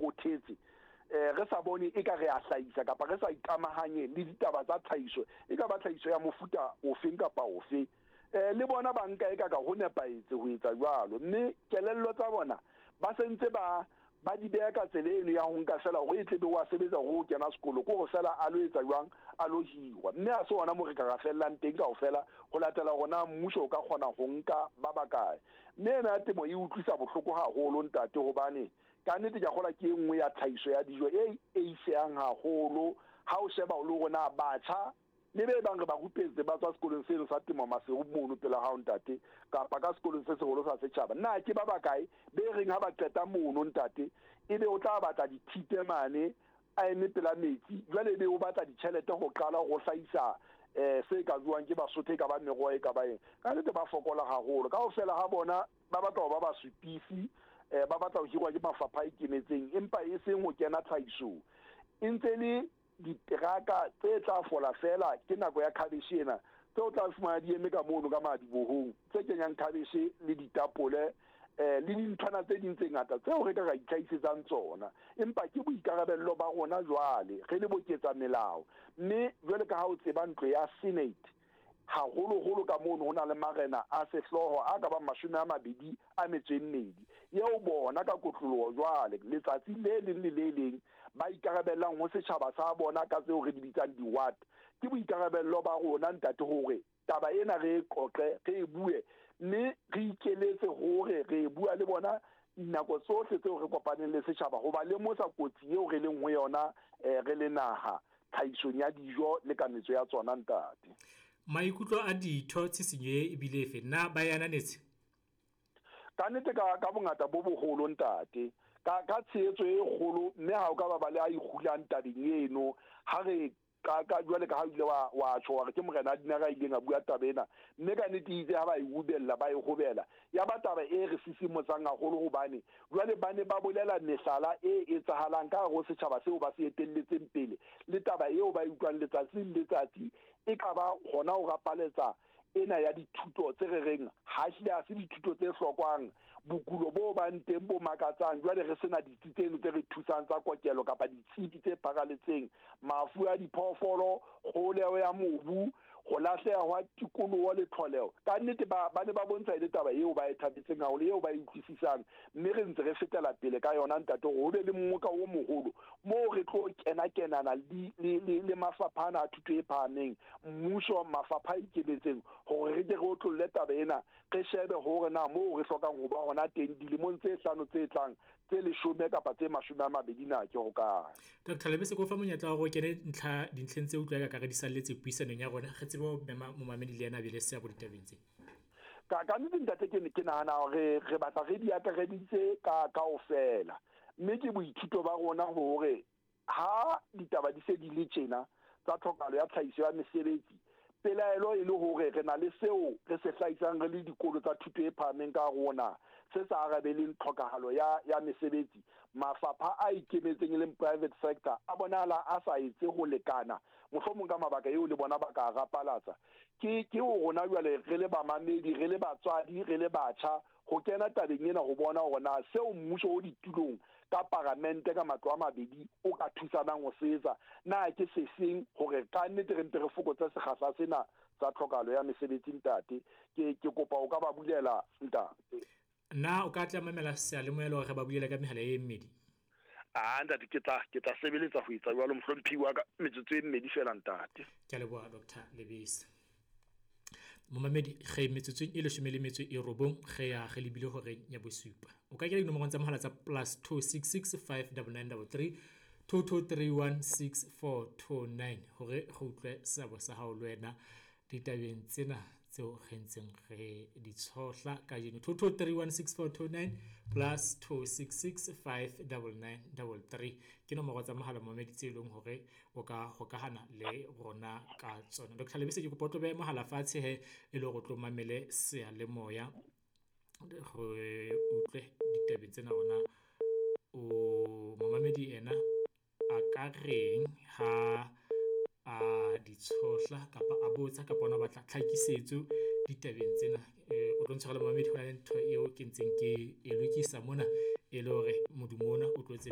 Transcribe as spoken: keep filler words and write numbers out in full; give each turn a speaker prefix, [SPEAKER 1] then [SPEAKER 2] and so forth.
[SPEAKER 1] rothetse, eh re sa bone e ka re a hlahisa kapa re sa ikamahanye le ditaba tsa tlhahiso, e ka ba tlhahiso ya mofuta ofeng kapa ofe. Eh le bona banka e ka ka ho nepahetse ho etsa jwalo, mme kelello tsa bona ba sentse ba ba di beha ka tsela eno ya ho nka fela hore e tle be wa sebetsa hore o kena sekolo, ke hore fela a lo etsa jwang, a lo hirwa. Mme ha se hona moo re ka ra fellang teng kaofela, ho latela hore na mmuso o ka kgona ho nka ba bakae. Mme ena ya temo e utlwisa bohloko haholo ntate, hobane ka nnete ke a kgolwa ke e nngwe ya tlhahiso ya dijo e eisehang haholo ha o sheba o le hore na batjha le be bang re ba rupetse ba tswa sekolong seno sa temo Maseru mono pela hao ntate, kapa ka sekolong se seholo sa setjhaba. Na ke ba bakae be reng ha ba qeta mono ntate, ebe o tla batla dithipe mane a eme pela metsi, jwale ebe o batla ditjhelete ho qala ho hlahisa eh se ka jwang ke Basotho, e ka ba meroho e ka ba eng. Ka nnete ba fokola haholo kaofela ha bona, ba batla ho ba basupisi, eh ba batla ho hirwa ke mafapha a ikemetseng, empa e seng ho kena tlhahisong. E ntse le diteraka tse tla fola fela ke nako ya khabeshe ena, tseo tla fumana di eme ka mono ka madibohong, tse kenyang khabeshe le ditapole eh le dinthwana tse ding tse ngata tseo re ka ra itlhahisetsang tsona. Empa ke boikarabello ba rona jwale re le boketsa melao, mme jwale ka ha o tseba ntlo ya Senate haholoholo ka mono ho na le marena a sehlooho a ka bang mashome a mabedi a metso e mmedi, eo bona ka kotloloho jwale letsatsi le leng le le leng ba ikarabellang ho setjhaba sa bona ka tseo re di bitsang di-ward. Ke boikarabello ba rona ntate hore taba ena re e qoqe, re e bue, mme re ikeletse hore re e bua le bona nako tsohle tseo re kopaneng le setjhaba, ho ba lemosa kotsi eo re leng ho yona eh, re le naha tlhahisong ya dijo le kametso ya tsona ntate.
[SPEAKER 2] Maikutlo a ditho tshisinyo e ebile efe, na ba e ananetse?
[SPEAKER 1] Ka nnete ka, ka bongata bo boholo ntate, ka, ka tshehetso e kgolo, mme ha o ka ba ba le a ikgulang tabeng eno. Ha re ka, ka jwale ka ha o ile wa, wa tjho wa re ke morena a Dinare a ileng a bua taba ena, mme ka nnete itse ha ba e ubella, ba e hobela, ya ba taba e re sisimosang haholo, hobane jwale ba ne ba bolela mehlala e etsahalang ka hare ho setjhaba seo ba se etelletseng pele, le taba eo ba e utlwang letsatsi le letsatsi, e ka ba hona ho rapaletsa ena ya dithuto tse re reng ha ehlile ha se dithuto tse hlokwang, bokulo bo bang teng bo makatsang, jwale re sena ditsi tseno tse re thusang tsa kokelo kapa ditsebi tse pharaletseng, mafu a diphoofolo, kgoleho ya mobu, ho lahleha hwa tikoloho le tlholeho. Ka nnete ba, ba ne ba bontsha e le taba eo ba e thabetseng haholo, eo ba e utlwisisang, mme re ntse re fetela pele ka yona ntate, hore ho be le mmoka o moholo moo re tlo kena-kenana le, le, le, le mafapha ana a thuto e phahameng, mmuso, mafapha a ikemetseng, hore re ke re otlolle taba ena, re shebe hore na moo re hlokang ho ba hona teng dilemong tse hlano tse tlang, tse leshome kapa tse mashome a mabedi na ke hokae.
[SPEAKER 2] Doctor Lebese, ke o fa monyetla wa hore o kene ntlha dintlheng tse utlwa ka re di salletse puisanong ya rona, re tsebe ho mema momamedi le yena a be le seabo ditabeng tse.
[SPEAKER 1] Ka, ka nnete ntate, ke, ke nahana hore re batla re di akareditse ka kaofela, mme ke boithuto ba rona hore ha ditaba di se di le tjena tsa tlhokahalo ya tlhahiso ya mesebetsi, pelaelo e le hore re na le seo re se hlahisang re le dikolo tsa thuto e phahameng ka rona se sa arabeleng tlhokahalo ya, ya mesebetsi. Mafapha a ikemetseng e leng private sector a bonahala a sa etse ho lekana, mohlomong ka mabaka eo le bona ba ka rapalatsa. Ke, ke ho rona jwale re le bamamedi, re le batswadi, re le batjha, ho kena tabeng ena ho bona hore na seo mmuso o ditulong ka paramente ka matlo a mabedi o ka thusanang ho se etsa, na ke se seng hore ka nnete re mpe re fokotse sekgahla sena sa tlhokahalo ya mesebetsi ntate. Ke, ke kopa o ka ba bulela ntate.
[SPEAKER 2] Na o ka tla mamela seyalemoya le hore re ba bulele ka mehala e mmedi?
[SPEAKER 1] Ah, ntate, ke tla, ke tla sebeletsa ho etsa jwalo, mohlomphehi wa ka, metsotso e mmedi fela ntate.
[SPEAKER 2] Ke a leboha Doctor Lebese. Momamedi, re metsotsong e leshome le metso e robong, re ya re lebile horeng ya bosupa. O ka kena dinomorong tsa mohala tsa plus two six six five double nine double three two two three one six four two nine hore re utlwe seabo sa hao le wena ditabeng tsena tseo re ntseng re di tshohla kajeno. Two two three one six four two nine plus two six six five double nine double three ke nomoro tsa mohala momamedi tse leng hore o ka hokahana le rona ka tsona. Doctor Lebese, ke kopa o tlo behe mohala fatshe he e le hore o tlo mamele seyalemoya re utlwe ditabeng tsena rona. O momamedi ena a ka reng ha a di tshohla kapa a botsa kapa ona o batla tlhakisetso ditabeng tsena? Eh, o tlo ntshwarela momamedi, ho na le ntho eo ke ntseng ke e lokisa mona e le hore modumo ona o tlo tsebe